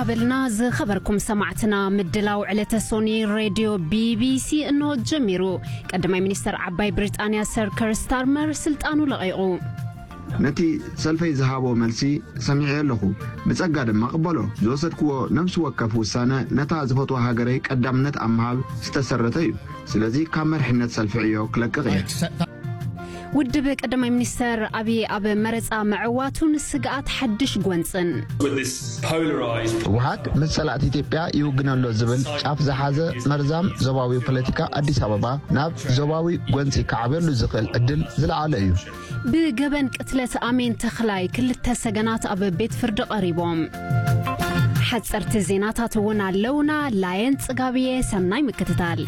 ኣበልና ዝኸበርኩም ሰማዕትና፣ ምድላው ዕለተ ሶኒ ሬድዮ ቢቢሲ እንሆ ጀሚሩ። ቀዳማይ ሚኒስተር ዓባይ ብሪጣንያ ሰር ከር ስታርመር ስልጣኑ ለቒቑ። ነቲ ሰልፈይ ዝሃቦ መልሲ ሰሚዐ ኣለኹ። ብጸጋ ድማ ቅበሎ። ዝወሰድክዎ ነፍሲ ወከፍ ውሳነ ነታ ዝፈትዋ ሃገረይ ቀዳምነት ኣብ ምሃብ ዝተሰረተ እዩ። ስለዚ ካብ መሪሕነት ሰልፊ ዕዮ ክለቅቕ እየ። ውድብ ቀዳማይ ሚኒስተር ኣብይ ኣብ መረጻ ምዕዋቱን ስግኣት ሓድሽ ጎንጽን። ህወሓት ምስ ጸላእቲ ኢትዮጵያ ይውግን ኣሎ ዝብል ጫፍ ዝሓዘ መርዛም ዞባዊ ፖለቲካ ኣዲስ ኣበባ ናብ ዞባዊ ጎንጺ ክዓብየሉ ዝኽእል ዕድል ዝለዓለ እዩ። ብገበን ቅትለት ኣሜን ተኽላይ ክልተ ሰገናት ኣብ ቤት ፍርዲ ቀሪቦም። ሓጸርቲ ዜናታት እውን ኣለውና። ላየን ጽጋብየ፣ ሰናይ ምክትታል።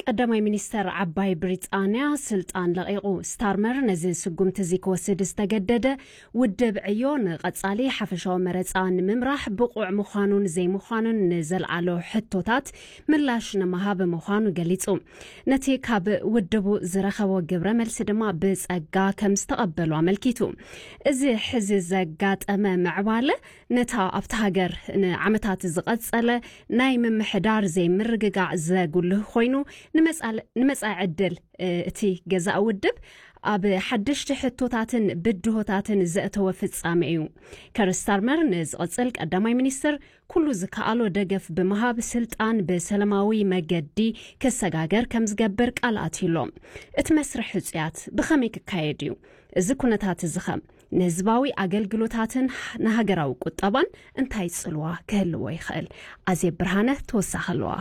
ቀዳማይ ሚኒስተር ዓባይ ብሪጣንያ ስልጣን ለቒቑ። ስታርመር ነዚ ስጉምቲ እዚ ክወስድ ዝተገደደ፣ ውድብ ዕዮ ንቐጻሊ ሓፈሻዊ መረጻ ንምምራሕ ብቑዕ ምዃኑን ዘይምዃኑን ንዘልዓሎ ሕቶታት ምላሽ ንምሃብ ምዃኑ ገሊጹ። ነቲ ካብ ውድቡ ዝረኸቦ ግብረ መልሲ ድማ ብጸጋ ከም ዝተቐበሉ ኣመልኪቱ። እዚ ሕዚ ዘጋጠመ ምዕባለ ነታ ኣብታ ሃገር ንዓመታት ዝቐጸለ ናይ ምምሕዳር ዘይምርግጋዕ ዘጉልህ ኮይኑ፣ ንመጻል-፣ ንመጻኢ ዕድል እቲ ገዛእ ውድብ ኣብ ሓደሽቲ ሕቶታትን ብድሆታትን ዘእተወ ፍጻመ እዩ። ከር ስታርመር ንዝቕጽል ቀዳማይ ሚኒስትር ኩሉ ዝከኣሎ ደገፍ ብምሃብ ስልጣን ብሰላማዊ መገዲ ክሰጋገር ከም ዝገብር ቃል ኣትዩሎ። እቲ መስርሕ ሕጹያት ብኸመይ ክካየድ እዩ? እዚ ኩነታት እዚ ኸ ንህዝባዊ ኣገልግሎታትን ንሃገራዊ ቁጠባን እንታይ ጽልዋ ክህልዎ ይኽእል? ኣዜብ ብርሃነ ተወሳኺ ኣለዋ።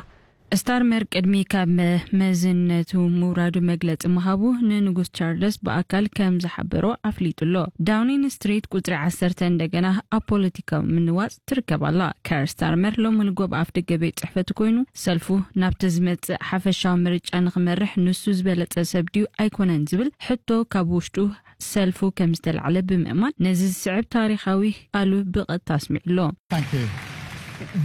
ስታርመር ቅድሚ ካብ መ-፣ መዝነቱ ምውራዱ መግለጺ ምሃቡ ንንጉስ ቻርለስ ብኣካል ከም ዝሓበሮ ኣፍሊጡ ኣሎ። ዳውኒንግ ስትሪት ቁጽሪ ዓሰርተ እንደገና ኣብ ፖለቲካዊ ምንዋጽ ትርከብ ኣላ። ከር ስታርመር ሎሚ ንጎ ኣብ ኣፍደገ ቤት ጽሕፈቱ ኮይኑ፣ ሰልፉ ናብቲ ዝመጽእ ሓፈሻዊ ምርጫ ንኽመርሕ ንሱ ዝበለጸ ሰብ ድዩ ኣይኮነን ዝብል ሕቶ ካብ ውሽጡ ሰልፉ ከም ዝተላዕለ ብምእማን፣ ነዚ ዝስዕብ ታሪኻዊ ቃሉ ብቐጥታ ኣስሚዑ ኣሎ። Thank you.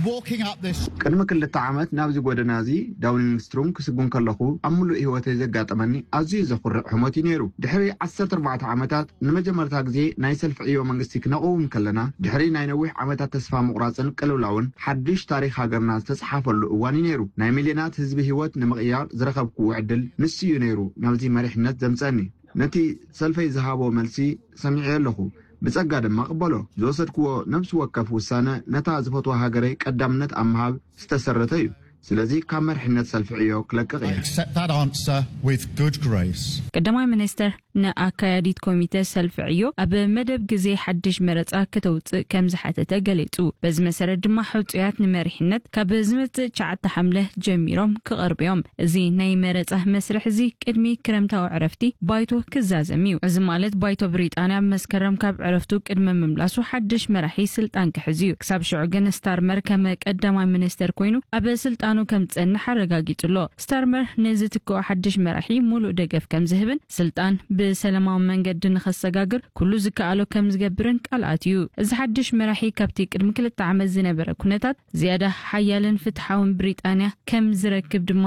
Walking up this ቅድሚ ክልተ ዓመት ናብዚ ጎደና እዚ ዳውኒንግ ስትሩም ክስጉም ከለኹ፣ ኣብ ምሉእ ህይወተይ ዘጋጠመኒ ኣዝዩ ዘኹርዕ ህሞት እዩ ነይሩ። ድሕሪ ዓሰርተ ኣርባዕተ ዓመታት ንመጀመርታ ግዜ ናይ ሰልፊ ዕዮ መንግስቲ ክነቕውም ከለና፣ ድሕሪ ናይ ነዊሕ ዓመታት ተስፋ ምቑራጽን ቅልውላውን፣ ሓድሽ ታሪኽ ሃገርና ዝተጻሓፈሉ እዋን እዩ ነይሩ። ናይ ሚልዮናት ህዝቢ ህይወት ንምቕያር ዝረኸብክዎ ዕድል ንሱ እዩ ነይሩ ናብዚ መሪሕነት ዘምጸኒ። ነቲ ሰልፈይ ዝሃቦ መልሲ ሰሚዐ ኣለኹ። ብጸጋ ድማ ቅበሎ። ዝወሰድክዎ ነፍሲ ወከፍ ውሳነ ነታ ዝፈትዋ ሃገረይ ቀዳምነት ኣብ ምሃብ ዝተሰረተ እዩ። ስለዚ ካብ መሪሕነት ሰልፊ ዕዮ ክለቅቕ I እየ። Accept that answer with good grace. ቀዳማይ ሚኒስተር ንኣካያዲት ኮሚተ ሰልፊ ዕዮ ኣብ መደብ ግዜ ሓድሽ መረጻ ከተውጽእ ከም ዝሓተተ ገሊጹ። በዚ መሰረት ድማ ሕጹያት ንመሪሕነት ካብ ዝመጽእ ትሽዓተ ሓምለ ጀሚሮም ክቐርቡ እዮም። እዚ ናይ መረጻ መስርሕ እዚ ቅድሚ ክረምታዊ ዕረፍቲ ባይቶ ክዛዘም እዩ። እዚ ማለት ባይቶ ብሪጣንያ ኣብ መስከረም ካብ ዕረፍቱ ቅድሚ ምምላሱ ሓድሽ መራሒ ስልጣን ክሕዝ እዩ። ክሳብ ሽዑ ግን ስታርመር ከም ቀዳማይ ሚኒስተር ኮይኑ ኣብ ስልጣኑ ከም ዝጸንሕ ኣረጋጊጹ ኣሎ። ስታርመር ንዝትክኦ ሓድሽ መራሒ ሙሉእ ደገፍ ከም ዝህብን ስልጣን ብሰላማዊ መንገዲ ንኸሰጋግር ኩሉ ዝከኣሎ ከም ዝገብርን ቃል ኣትዩ። እዚ ሓድሽ መራሒ ካብቲ ቅድሚ ክልተ ዓመት ዝነበረ ኩነታት ዝያዳ ሓያልን ፍትሓውን ብሪጣንያ ከም ዝረክብ ድማ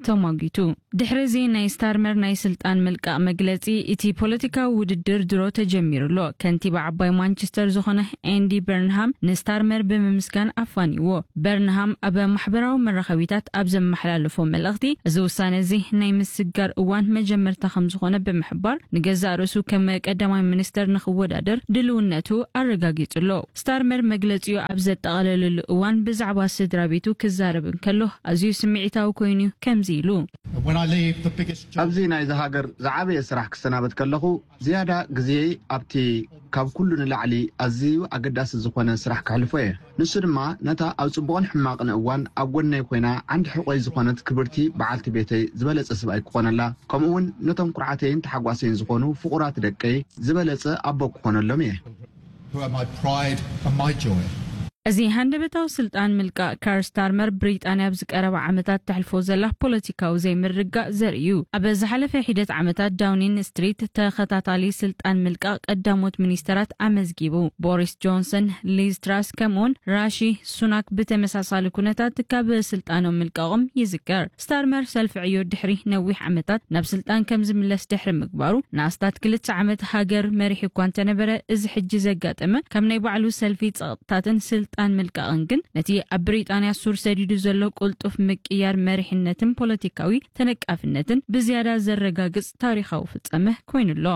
ተሟጊቱ። ድሕሪ እዚ ናይ ስታርመር ናይ ስልጣን ምልቃቕ መግለጺ፣ እቲ ፖለቲካዊ ውድድር ድሮ ተጀሚሩ ኣሎ። ከንቲባ ዓባይ ማንቸስተር ዝኾነ ኤንዲ በርንሃም ንስታርመር ብምምስጋን ኣፋንይዎ። በርንሃም ኣብ ማሕበራዊ መራኸቢታት ኣብ ዘመሓላለፎ መልእኽቲ፣ እዚ ውሳነ እዚ ናይ ምስግጋር እዋን መጀመርታ ከም ዝኾነ ብምሕባር፣ ንገዛእ ርእሱ ከም ቀዳማይ ሚኒስተር ንኽወዳደር ድልውነቱ ኣረጋጊጹ ኣሎ። ስታርመር መግለጺኡ ኣብ ዘጠቓለለሉ እዋን ብዛዕባ ስድራ ቤቱ ክዛረብ እንከሎ ኣዝዩ ስምዒታዊ ኮይኑ ከምዚ ኢሉ። When I leave, the biggest job ኣብዚ ናይዚ ሃገር ዝዓበየ ስራሕ ክሰናበት ከለኹ ዝያዳ ግዜይ ኣብቲ ካብ ኩሉ ንላዕሊ ኣዝዩ ኣገዳሲ ዝኾነ ስራሕ ከሕልፎ እየ። ንሱ ድማ ነታ ኣብ ጽቡቕን ሕማቕን እዋን ኣብ ጎነይ ኮይና ዓንዲ ሕቖይ ዝኾነት ክብርቲ በዓልቲ ቤተይ ዝበለጸ ሰብኣይ ክኾነላ፣ ከምኡ እውን ነቶም ኩርዓተይን ተሓጓሰይን ዝኾኑ ፍቑራት ደቀይ ዝበለጸ ኣቦ ክኾነሎም እየ። Who are my pride and my joy. እዚ ሃንደበታዊ ስልጣን ምልቃእ ካር ስታርመር፣ ብሪጣንያ ኣብዚ ቀረባ ዓመታት ተሕልፎ ዘላ ፖለቲካዊ ዘይምርግጋእ ዘርኢ እዩ። ኣብ ዝሓለፈ ሒደት ዓመታት፣ ዳውኒን ስትሪት ተኸታታሊ ስልጣን ምልቃእ ቀዳሞት ሚኒስተራት ኣመዝጊቡ። ቦሪስ ጆንሰን፣ ሊዝ ትራስ፣ ከምኡውን ራሺ ሱናክ ብተመሳሳሊ ኩነታት ካብ ስልጣኖም ምልቃቖም ይዝከር። ስታርመር ሰልፊ ዕዮ ድሕሪ ነዊሕ ዓመታት ናብ ስልጣን ከም ዝምለስ ድሕሪ ምግባሩ፣ ንኣስታት ክልተ ዓመት ሃገር መሪሑ እኳ እንተነበረ፣ እዚ ሕጂ ዘጋጠመ ካብ ናይ ባዕሉ ሰልፊ ጸቕጥታትን ስልጣን ምልቃቕን ግን፣ ነቲ ኣብ ብሪጣንያ ሱር ሰዲዱ ዘሎ ቅልጡፍ ምቅያር መሪሕነትን ፖለቲካዊ ተነቃፍነትን ብዝያዳ ዘረጋግጽ ታሪኻዊ ፍጻመ ኮይኑ ኣሎ።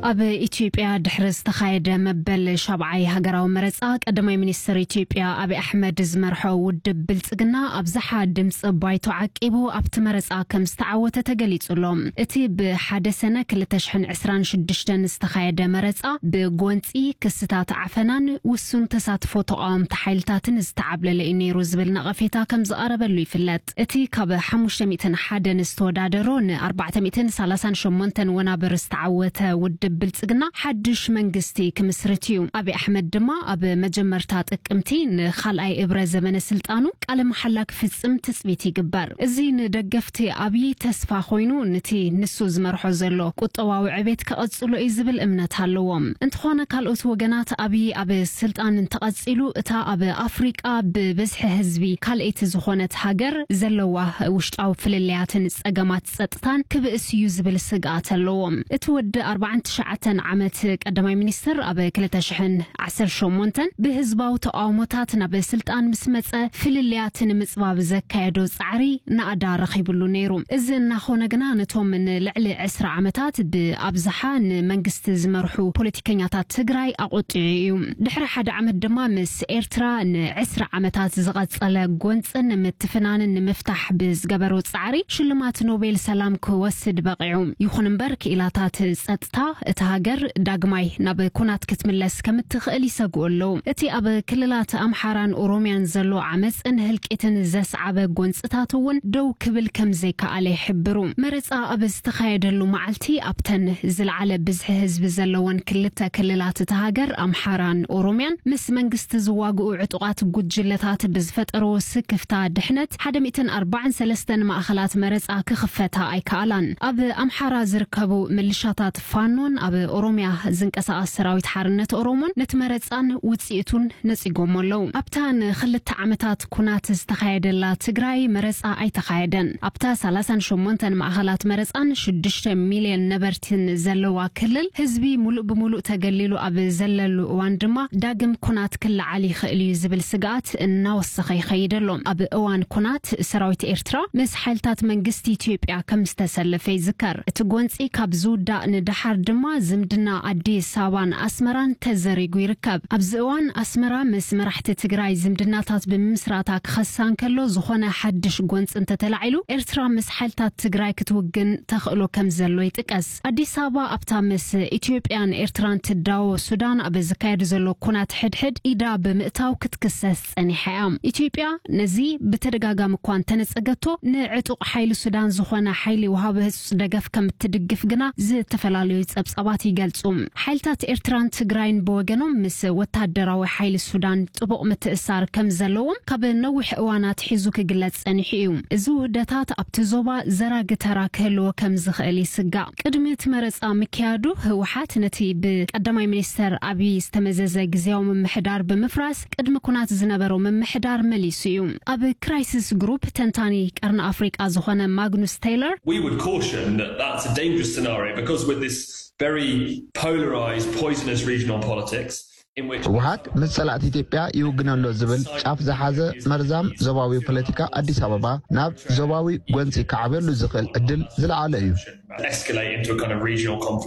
ኣብ ኢትዮጵያ ድሕሪ ዝተኻየደ መበል ሻብዓይ ሃገራዊ መረጻ፣ ቀዳማይ ሚኒስትር ኢትዮጵያ ኣብይ ኣሕመድ ዝመርሖ ውድብ ብልጽግና ኣብዝሓ ድምጺ ባይቶ ዓቂቡ ኣብቲ መረጻ ከም ዝተዓወተ ተገሊጹ ኣሎ። እቲ ብሓደ ሰነ ክልተ ሽሕን ዕስራን ሽዱሽተን ዝተኻየደ መረጻ፣ ብጎንጺ፣ ክስታት ዓፈናን ውሱን ተሳትፎ ተቓወምቲ ሓይልታትን ዝተዓብለለ እዩ ነይሩ ዝብል ነቐፌታ ከም ዝቐረበሉ ይፍለጥ። እቲ ካብ ሓሙሽተ ሚእትን ሓደን ዝተወዳደሮ ን ኣርባዕተ ሚእትን ሰላሳን ሸሞንተን ወናብር ዝተዓወተ ውድብ ብልጽግና ሓድሽ መንግስቲ ክምስርት እዩ። ኣብይ ኣሕመድ ድማ ኣብ መጀመርታ ጥቅምቲ ንኻልኣይ እብረ ዘመነ ስልጣኑ ቃለ መሓላ ክፍጽም ትጽቢት ይግበር። እዚ ንደገፍቲ ኣብይ ተስፋ ኮይኑ፣ ነቲ ንሱ ዝመርሖ ዘሎ ቁጠባዊ ዕቤት ክቐጽሎ እዩ ዝብል እምነት ኣለዎም። እንተኾነ፣ ካልኦት ወገናት ኣብይ ኣብ ስልጣን እንተቐጺሉ፣ እታ ኣብ ኣፍሪቃ ብብዝሒ ህዝቢ ካልኣይቲ ዝኾነት ሃገር ዘለዋ ውሽጣዊ ፍልልያትን ጸገማት ጸጥታን ክብእስ እዩ ዝብል ስግኣት ኣለዎም። እቲ ወዲ ኣርባዓን ትሽዓተን ዓመት ቀዳማይ ሚኒስትር ኣብ ክልተ ሽሕን ዓሰርተ ሸሞንተን ብህዝባዊ ተቓውሞታት ናብ ስልጣን ምስ መጸ፣ ፍልልያት ንምጽባብ ዘካየዶ ጻዕሪ ናእዳ ረኺብሉ ነይሩ። እዚ እናኾነ ግና፣ ነቶም ንልዕሊ ዕስራ ዓመታት ብኣብዝሓ ንመንግስቲ ዝመርሑ ፖለቲከኛታት ትግራይ ኣቖጢዑ እዩ። ድሕሪ ሓደ ዓመት ድማ፣ ምስ ኤርትራ ንዕስራ ዓመታት ዝቐጸለ ጎንጽን ምትፍናንን ንምፍታሕ ብዝገበሮ ጻዕሪ፣ ሽልማት ኖቤል ሰላም ክወስድ በቒዑ። ይኹን እምበር፣ ክኢላታት ጸጥታ እታ ሃገር ዳግማይ ናብ ኩናት ክትምለስ ከም እትኽእል ይሰግኡ ኣለዉ። እቲ ኣብ ክልላት ኣምሓራን ኦሮምያን ዘሎ ዓመጽን ህልቂትን ዘስዓበ ጎንጽታት እውን ደው ክብል ከም ዘይከኣለ ይሕብሩ። መረጻ ኣብ ዝተኻየደሉ መዓልቲ፣ ኣብተን ዝለዓለ ብዝሒ ህዝቢ ዘለወን ክልተ ክልላት እታ ሃገር፣ ኣምሓራን ኦሮምያን፣ ምስ መንግስቲ ዝዋግኡ ዕጡቓት ጉጅለታት ብዝፈጠርዎ ስክፍታ ድሕነት፣ ሓደ ሚእትን ኣርባዓን ሰለስተን ማእኸላት መረጻ ክኽፈታ ኣይከኣላን። ኣብ ኣምሓራ ዝርከቡ ምልሻታት ፋኖን ኣብ ኦሮምያ ዝንቀሳቐስ ሰራዊት ሓርነት ኦሮሞን ነቲ መረጻን ውጽኢቱን ነጺጎሞ ኣለዉ። ኣብታ ንኽልተ ዓመታት ኩናት ዝተኻየደላ ትግራይ መረጻ ኣይተኻየደን። ኣብታ ሰላሳን ሸሞንተን ማእኸላት መረጻን ሽዱሽተ ሚልዮን ነበርትን ዘለዋ ክልል፣ ህዝቢ ሙሉእ ብሙሉእ ተገሊሉ ኣብ ዘለሉ እዋን ድማ፣ ዳግም ኩናት ክለዓል ይኽእል እዩ ዝብል ስግኣት እናወሰኸ ይኸይድ ኣሎ። ኣብ እዋን ኩናት፣ ሰራዊት ኤርትራ ምስ ሓይልታት መንግስቲ ኢትዮጵያ ከም ዝተሰለፈ ይዝከር። እቲ ጎንጺ ካብ ዝውዳእ ንደሓር ድማ፣ ዝምድና ኣዲስ ኣበባን ኣስመራን ተዘሪጉ ይርከብ። ኣብዚ እዋን፣ ኣስመራ ምስ መራሕቲ ትግራይ ዝምድናታት ብምምስራታ ክኸሳ እንከሎ፣ ዝኾነ ሓድሽ ጎንጺ እንተተላዒሉ፣ ኤርትራ ምስ ሓይልታት ትግራይ ክትውግን ተኽእሎ ከም ዘሎ ይጥቀስ። ኣዲስ ኣበባ ኣብታ ምስ ኢትዮጵያን ኤርትራን ትዳወ ሱዳን ኣብ ዝካየድ ዘሎ ኩናት ሕድሕድ ኢዳ ብምእታው ክትክሰስ ጸኒሓ እያ። ኢትዮጵያ ነዚ ብተደጋጋሚ እኳ እንተነጸገቶ፣ ንዕጡቕ ሓይሊ ሱዳን ዝኾነ ሓይሊ ወሃቢ ህጹጽ ደገፍ ከም እትድግፍ ግና ዝተፈላለዩ ጸብጻባት ይገልጹ። ሓይልታት ኤርትራን ትግራይን ብወገኖም፣ ምስ ወታደራዊ ሓይሊ ሱዳን ጥቡቕ ምትእሳር ከም ዘለዎም ካብ ነዊሕ እዋን ኣትሒዙ ክግለጽ ጸኒሑ እዩ። እዚ ውህደታት ኣብቲ ዞባ ዘራጊ ተራ ክህልዎ ከም ዝኽእል ይስጋእ። ቅድሚ እቲ መረጻ ምክያዱ፣ ህወሓት ነቲ ብቀዳማይ ሚኒስተር ኣብይ ዝተመዘዘ ግዝያዊ ምምሕዳር ብምፍራስ፣ ቅድሚ ኩናት ዝነበሮ ምምሕዳር መሊሱ እዩ። ኣብ ክራይሲስ ግሩፕ ተንታኒ ቀርኒ ኣፍሪቃ ዝኾነ ማግኑስ ቴይለር፣ We would caution that that's a dangerous scenario because with this very polarized, poisonous regional politics in which ህወሓት ምስ ጸላእቲ ኢትዮጵያ ይውግነሎ ዝብል ጫፍ ዝሓዘ መርዛም ዞባዊ ፖለቲካ ኣዲስ ኣበባ ናብ ዞባዊ ጎንጺ ክዓብየሉ ዝኽእል ዕድል ዝለዓለ እዩ። Escalate into a kind of regional conflict.